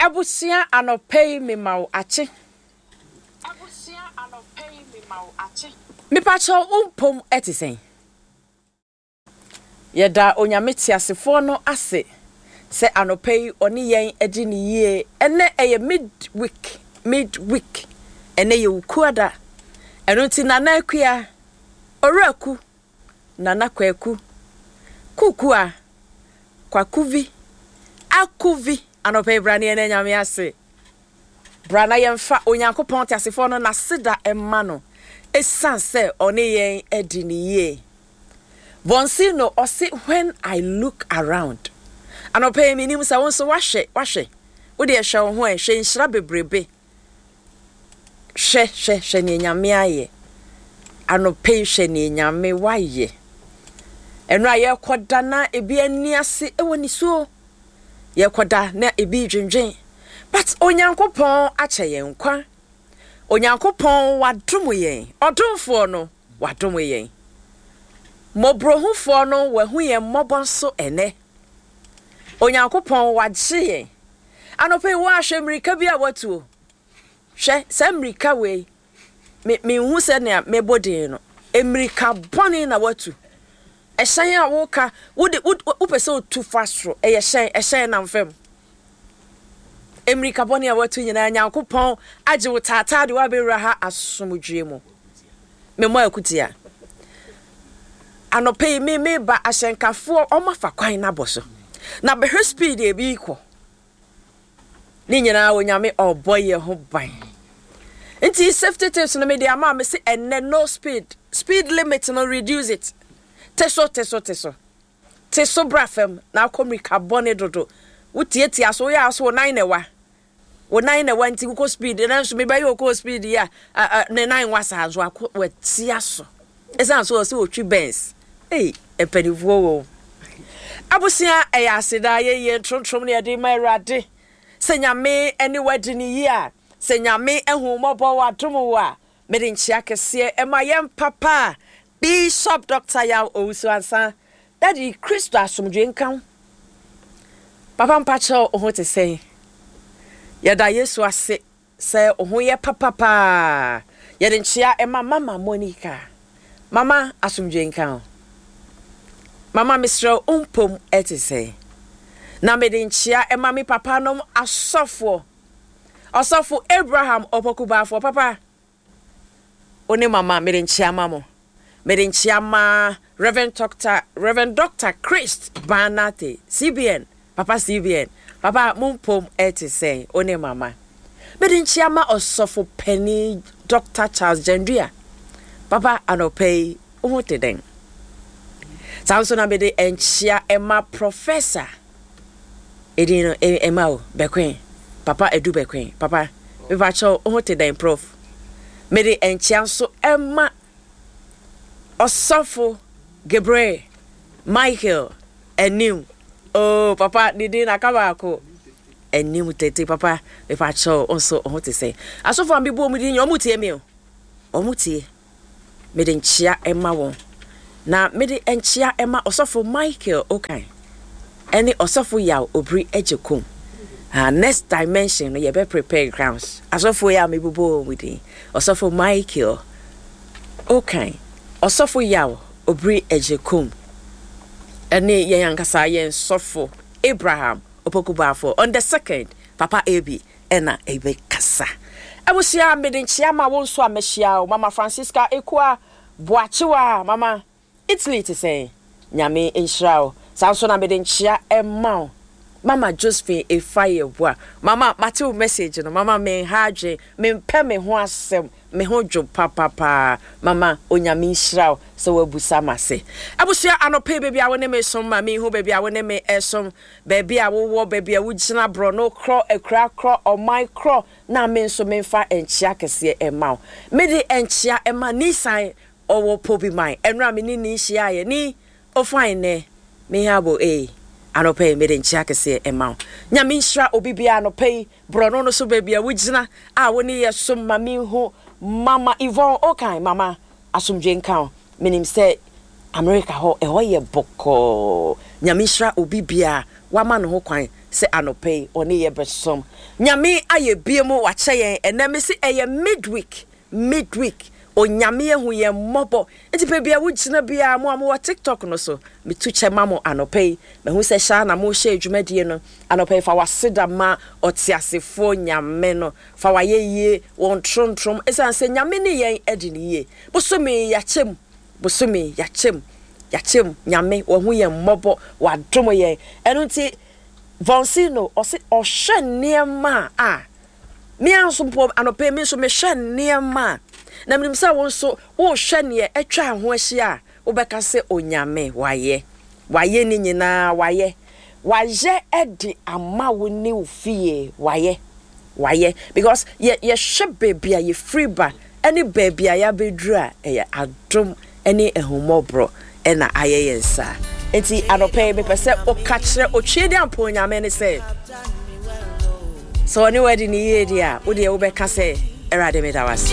Abusua anɔpa yi mema wo akye. Mepakyɛw wo mpom te sɛn? Yɛda Onyame teasefoɔ no ase sɛ anɔpa yi ɔne yɛn adi no yie. Ɛnɛ ɛyɛ mid week, mid week. Ɛnɛ yɛ Wukuada. Ɛno nti Nana Akua, Owura Ku, Nana Kwaku, Kukua, Kwakuvi, Akuvi, anɔpa yi bra ne yɛn Nyame ase. Bra na yɛmfa Onyankopɔn teasefoɔ no n'aseda mma no ɛsiane sɛ ɔne yɛn adi no yie. Bonsino ɔse when I look around. Anɔpa yi menim sɛ wo nso woahwɛ, woahwɛ. Wo deɛ hwɛ wo ho ɛ, hwɛ nhyira bebrebe. Hwɛ, hwɛ, hwɛ nea Nyame ayɛ. Anɔpa yi hwɛ nea Nyame wayɛ. Ɛno a yɛrekɔda na ebi ani ase wɔ nisuo. Yɛrekɔda na ebi redwendwen. But Onyankopɔn akyɛ yɛn nkwa. Onyankopɔn wadom yɛn. Ɔdomfoɔ no wadom yɛn. Mmɔborɔhufoɔ no wahu yɛn mmɔbɔ nso ɛnɛ. Onyankopɔn wagye yɛn. Anɔpa yi woahwɛ mmirika bi a watuo. Hwɛ saa mmirika wei. Me menhu sɛnea mebɔ din no. Mmirika bɔne na watu. Ɛhyɛn a woka wode wopɛ sɛ otu fa soro. Ɛyɛ hyɛn, ɛhyɛn nam fam. Mmirika bɔne a watu nyinaa Nyankopɔn agye wo taataa de woabɛwura ha asomdwoe mu. Memmɔ akutia. Anɔpa yi me meba ahyɛnkafoɔ wɔn afa kwan no abɔ so. Na bɛhwɛ speed a ebi rekɔ. Ne nyinaa Onyame ɔbɔ yɛn ho ban. Nti safety tips no mede ama me se ɛnnɛ no speed. Speed limit no reduce it. Te so te so te so. Te so bra fam na akɔ mmirika bɔne dodo. Wotiatia so woyɛ a so wo nan na ɛwa. Wo nan na ɛwa nti wokɔ speed nanso mebɛyɛ ɔkɔɔ speed yi a ne nan nwa saa nso akɔ watia so. Ɛsiane so ɔsɛ ɔtwi Benz. Ei mpanimfoɔ wɔ mu. Abusua ɛyɛ aseda ayɛyie ntrontrom ne yɛde ma Awurade. Sɛ Nyame ne wo adi no yie a, sɛ Nyame ahu wo mmɔbɔ wadom wo a, mede nkyea kɛseɛ ɛma yɛn papa Bishop Doctor Yaw Owusu Ansah. Daddy, Kristo asomdwoe nka wo. Papa mpakyɛw wo ho te sɛn? Yɛda Yesu ase sɛ wo ho yɛ papa paa. Yɛde nkyea ma Mama Monica. Mama asomdwoe nka wo. Mama mesrɛ wo mpom te sɛn? Na mede nkyea ma me papa nom asɔfoɔ. Ɔsɔfo Abraham Opoku Baafoɔ papa. Wo ne mama mede nkyea ma mo. Mede nkyea ma Rev. Doctor, Rev. Doctor Christ Banate, CBN, Papa CBN, Papa mo mpom te sɛn, wo ne mama. Mede nkyea ma Ɔsɔfo Panin Doctor Charles Gyandua, Papa anɔpa yi wo ho te dɛn? Saa nso na mede nkyea ma Professor Edin no ɛma o, Bɛkwen, Papa Adu Bɛkwen, Papa, mepakyɛw wo ho te dɛn Prof? Mede nkyea nso ɛma Ɔsɔfo Gabriel Michael Anim, oh papa ne din aka baako, Anim tete, papa mepakyɛw wo nso wo ho te sɛn? Asɔfo a mebɔ wɔn din nyinaa wɔn tie me o, wɔn tie. Mede nkyea ma wɔn. Na mede nkyea ma Ɔsɔfo Michael Okan ne Ɔsɔfo Yaw Obiri Agyekum. Ah, next dimension no yɛbɛ prepare grounds. Asɔfo yi a mebobɔ wɔn din, Ɔsɔfo Michael Okan, Ɔsɔfo Yaw Obiri Agyekum, ɛne yɛn ankasa yɛn sɔfo Abraham Opoku Baafoɔ on the second, Papa AB. Ɛna ɛbɛkasa. Abusua mede nkyea ma wo nso a mahyia wo Mama Francisca Ekua Boakyewa Mama Italy te sɛn? Nyame nhyira wo. Saa nso na mede nkyea ɛma wo Mama Josephine Efayeboa Mama mate wo message no Mama menha adwen mempɛ me ho asɛm me ho dwo papapaa Mama Onyame nhyira wo sɛ woabusa mase. Abusua anɔpa yi baabi a wo ne me som ma menhu baabi a wo ne me ɛsom Baabi a wowɔ, baabi a wugyina, borɔno korɔ, akuraa korɔ, ɔman korɔ, na me nso memfa nkyea kɛseɛ mma wo. Mede nkyea ma Nisan, ɔwɔ Pobiman. Ɛnora me ne Ni hyiaeɛ. Ni, o fine nnɛ, me habo ei. Anɔpa yi, mede nkyea kɛseɛ ma wo. Nyame nhyira obi biara anɔpa yi, borɔno no so baabi a wugyina a wo ne yɛ som ma menhu Mama Yvonne Okan, Mama, Asomdwoe nka wo. Menim sɛ America hɔ ɛhɔ yɛ bɔkɔɔ. Nyame nhyira obi biaa wama ne ho kwan sɛ anɔpa yi ɔne yɛ bɛsom. Nyame ayɛ bie mu wakyɛ yɛn ɛnɛ me se ɛyɛ midweek midweek Onyame ahu yɛn mmɔbɔ nti baabi a wogyina biara mo a mowɔ TikTok no so metu kyɛ ma mo anɔpa yi mahu sɛ hyɛ a na mohyɛ dwumadie no anɔpa yi fa w'aseda ma ɔteasefoɔ Nyame no fa w'ayɛyie wɔn trontrom ɛsiane sɛ Nyame ne yɛn adi ne yie bosome yi yɛakyɛ mu bosome yi yɛakyɛ mu yɛakyɛ mu Nyame wahu yɛn mmɔbɔ wadom yɛn ɛno nti Vonsino ɔse ɔhwɛ nneɛma a me ara nso mpo anɔpa yi me nso mehwɛ nneɛma a na menim sɛ wo nso wohwɛ neɛ atwa ho ahyia a wobɛka sɛ Onyame wayɛ wayɛ ne nyinaa wayɛ wayɛ de ama wo ne wo fie wayɛ wayɛ because yɛ yɛhwɛ baabi a yɛfiri ba ne baabi a yɛabɛduru a ɛyɛ adom ne ahummɔborɔ na ayɛ yɛn saa. Nti anɔpa yi mepɛ sɛ woka kyerɛ Otwedeampɔn Onyame no sɛ, sɛ ɔne wadi ne yie deɛ a, wo deɛ wobɛka sɛ, Awurade meda wo ase.